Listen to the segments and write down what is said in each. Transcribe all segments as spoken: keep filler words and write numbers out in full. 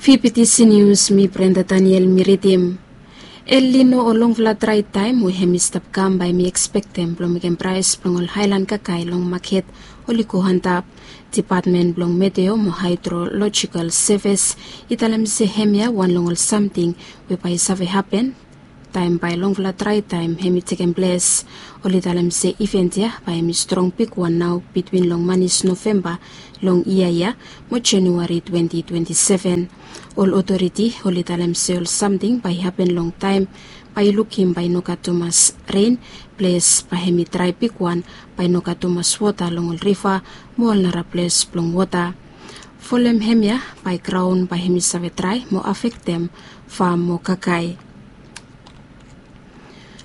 Fifty News, mi Brenda Daniel mi ridim. El Nino o longfala drae taem we hem i stap kam bae mi ekspektem blong mekem praes blong ol haelan kakae long maket oli go antap. Depatmen blong Meteo mo Haedrolojikal Sevis i talem se hemia wan long ol samting we bae i save hapen taem bae longfala drae taem hem i tekem ples. Oli talem se iven ya bae hem i strong bigwan nao bitwin long manis Novemba long yia ya mo Januari twenti twenti seven. Ol otoriti oli talem se ol samting bae i hapen long taem bae i lukim bae i no gat tumas ren, ples bae hem i drae bigwan, bae i no gat tumas wota long ol riva mo ol nara ples blong wota. Folem hemia bae graon bae hem i save drae mo afektem fam mo kakae.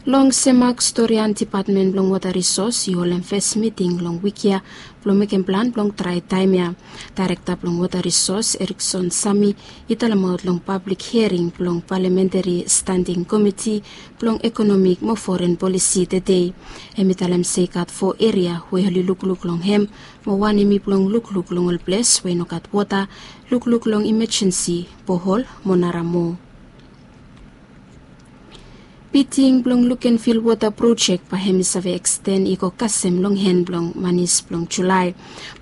Long Semak Storian, Depatmen blong Wota Risos i holem fes miting long wik ya blong mekem plan blong drae taem ya. Daerekta blong Wota Risos, Erikson Sami, i talemaot long pablik hiering blong Palamentari Standing Komiti blong Ekonomik mo Foren Polisi tedei. Hem i talem se i gat fo eria we oli lukluk long hem, mo wan hem i blong lukluk long ol ples we i no gat wota, lukluk long imajensi bohol mo nara moa. Biting blong Lukenvil Wota Projek bae hem i save eksten i go kasem long hen blong manis blong Julae.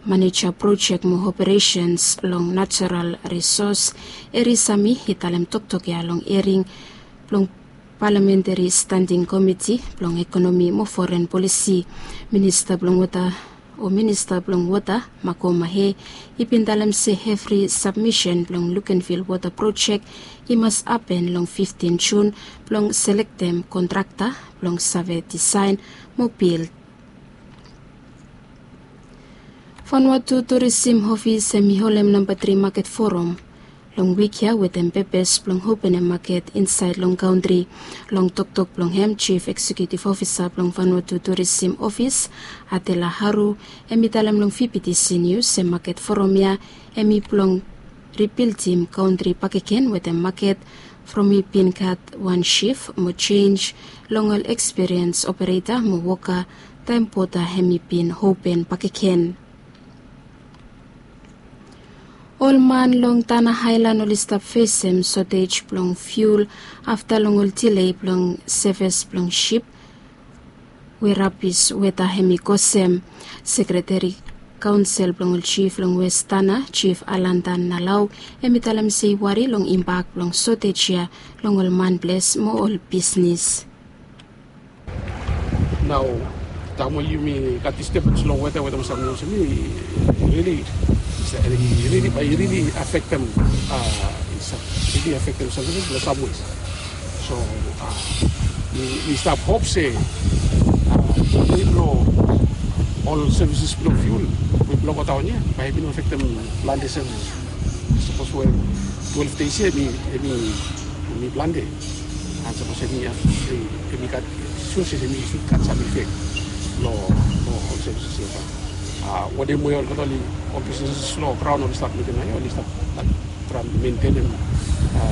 Maneja projek mo operesens long Natural Risos, Eri Sami, i talem toktok ya long hiering blong Palamentari Standing Komiti blong Ekonomi mo Foren Polisi. Minista blong Wota o Minista blong Wota, Makoma He, i bin talem se evri sabmisen blong Lukenvil Wota Projek i mas hapen long fiftin Jun blong selektem kontrakta blong save disaen mo bil. Vanuatu Turisim Ofis hem i holem namba tri maket forum long wik ya wetem pepes blong openem maket insaed long kantri. Long toktok blong hem, Jif Eksekiutif Ofisa blong Vanuatu Turisim Ofis, Adela Haru, hem i talem long Fifty News se maket forum ya hem i blong ribildim kantri bakegen wetem maket from i bin gat wan sif mo jenis long ol ekspiriens opereta mo woka taem boda hem i bin open bakegen. Ol man long Tanna Aelan oli stap fesem sotej blong fiul afta long ol dile blong sevis blong sip we rabis weta hem i kosem. Sekreteri Kaonsel blong ol Jif long Wes Tanna, Jif Alandan Nalau, hem i talem se i wari long imbak blong sotej ya long ol man ples mo ol bisnis. Nao taem we yumi gat disturbens long weta, weta mo samting olsem, i rili, i rili, bae i rili afektem, a, i rili afektem samting long sam wes. So, a, mi, mi stap hop se, a, blong ol sevises blong fiul we blong godaon ya bae i no afektem plante sevises. Sapos we twelve dei ya, mi, mi, mi plante. An sapos hemi, hemi gat, sure se hemi sud gat sam ifek lo, lo ol sevises ia. Bat, a, wanem we olgeta oli, ol bisnis lo graon oli stap mekem naoia, oli stap traem mentenem, a,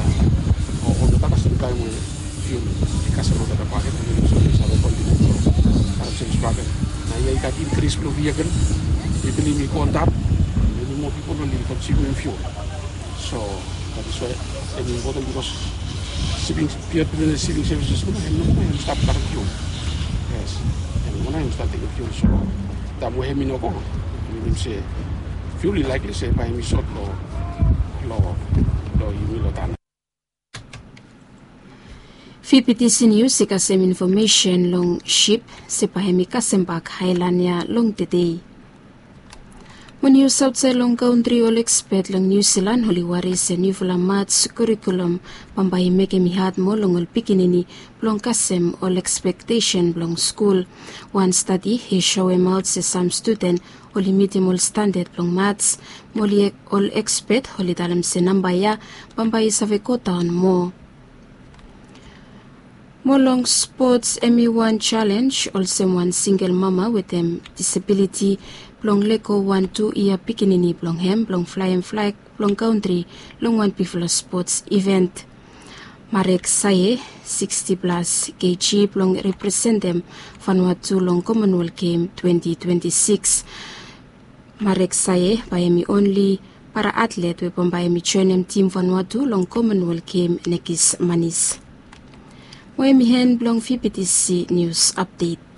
olgeta kasem taem we fiul i kasem olgeta baket, oli save kontiniu lo karem sevis baket. Naoia i gat inkris blo vehikel, mi bilif i go antap, hemi moa pipol oli konsumem fiul. So that is why hemi impoten bikos siping, piod blong siping sevises nomo, hemi nomo, hemi stap karem fiul. Yes, hemi nomo nao hemi stap tekem fiul. So taem we hemi no go, minim se fiul i laekli se bae hemi sot lo, lo, lo yumi lo Tanna. Fifty News i kasem infomesen long sip se bae hemi kasem bak aelan ia long tedei. Mo nius aotsaed long kantri, ol ekspet long Niu Silan oli wari se niufala mats kurikulum bambae i mekem i had moa long ol pikinini blong kasem ol ekspektesen blong skul. Wan stadi i soemaot se sam studen oli mitim ol standad blong mats, mo ol ekspet oli talem se namba ia bambae i save godaon moa. Mo long spots, hemi wan jalenj olsem wan singel mama wetem disabiliti blong lego wan tu yia pikinini blong hem blong flaem flag blong kantri long wan bigfala spots iven. Marek Sae, siksti plas keji, blong representem Vanuatu long Komonwel Gem twenti twenti sikis. Marek Sae bae hemi onli Para atlet we bambae hem i joenem tim Vanuatu long Commonwealth Game nekis manis. Mo hem i hen blong VBTC nius apdet.